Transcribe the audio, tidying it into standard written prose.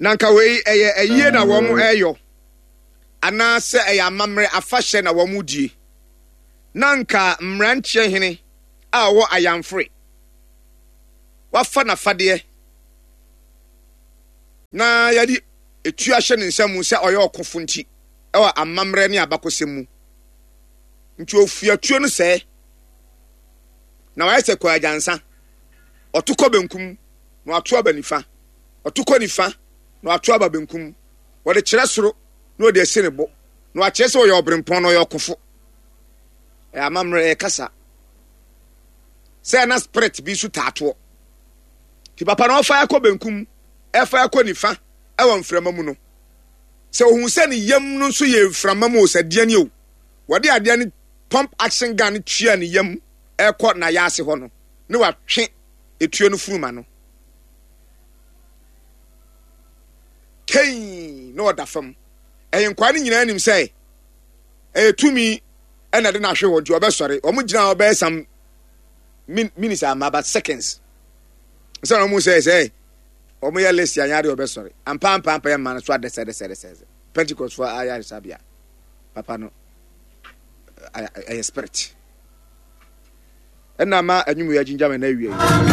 Na nka wei ɛyɛ ayie na wɔn ɛyɔ anaasɛ ɛyɛ amammerɛ afahyɛ na wɔn die. Na nka mmeranteɛ hene a ɔwɔ ayamfore wafa n'afadeɛ na yɛde etuo ahyɛ ne nsa mu sɛ ɔyɛ ɔkofo nti ɛwɔ amammerɛ ne abakɔsɛm mu nti ofua tuo no sɛɛ na wayɛ sɛ kwaagyansa ɔto kɔ benkum na wato aba nifa ɔto kɔ nifa na wato aba benkum wɔde kyerɛ soro na wɔde asi ne bo na wakyerɛ sɛ ɔyɛ ɔbrempɔn na ɔyɛ ɔkofo ɛyɛ amammerɛ ɛyɛ kasa sɛ na spirit bi nso taatoɔ nti papa na ɔfa ɛkɔ benkum ɛfa ɛkɔ nifa ɛwɔ mframa mu no sɛ ohun sɛ ne yam no nso yɛ mframa mu o sɛ deɛ ni o wɔde adeɛ no pump action gun no tua ne yam ɛkɔ n'ayaase hɔ no ne watwe etuo no funuma no kɛn na ɔda fam ɛyɛ nkwaa no nyinaa nim sɛ ɛyɛ tumi ɛna de n'ahwe hɔ nti ɔbɛsɔre wɔn gyina hɔ bɛyɛ some minutes ama but seconds sɛ wɔn sɛ sɛ wɔn yɛ list anyɛ adeɛ ɔbɛsɔre ampa ampa ampa yɛ mma no so adɛsɛdɛsɛdɛsɛ Pentecost fo ayaresabea papa no ɛyɛ spirit ɛna ma anwum yɛ agyingyam ɛna awia yi.